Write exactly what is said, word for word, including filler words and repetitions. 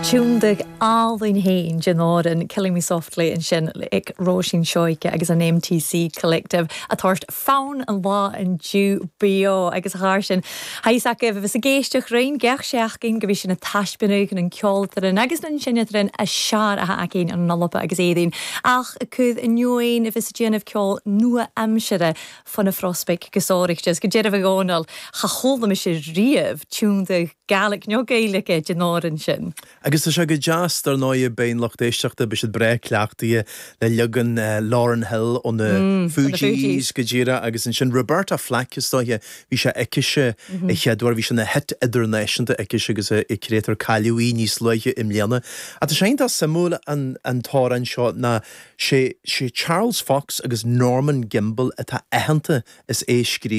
Tiúndach álainn héin den amhrán Killing Me Softly ansin ag Róisín Seoige agus an MTC Collective a tabhairt fonn an lá inniu beo agus thar sin. Haís a bheith ag éisteacht rein geach seachcin go bhí sin na taispeánadh an ceoltaran agus an sinetran a sear a acin an nolpa agus éadain ach cud inniuin a bhís déanamh ceol nua-aimseartha fan na Frospic go sórichtes go deireh ggónal cha chola sé riamh tiúnda Gaelic nó Gaeilge den amhrán sin. Agus tá sé go deas dar ndóigh beidh lucht éisteachta be siad breá cleachtaithe le leagan Lauryn Hill ó na mm, Fugees go díreach agus ansin Roberta Flack is dóiche bhí sé aicise mm -hmm. chéadúir bhí sin na hit idirnáisiúnta aici agus i créatar cailúí níos luaithe i mbliana. A tá sé tá suimiúil an, an t-amhrán seo ná sé sé Charles Fox agus Norman Gimbel atá aitheanta is é scríobh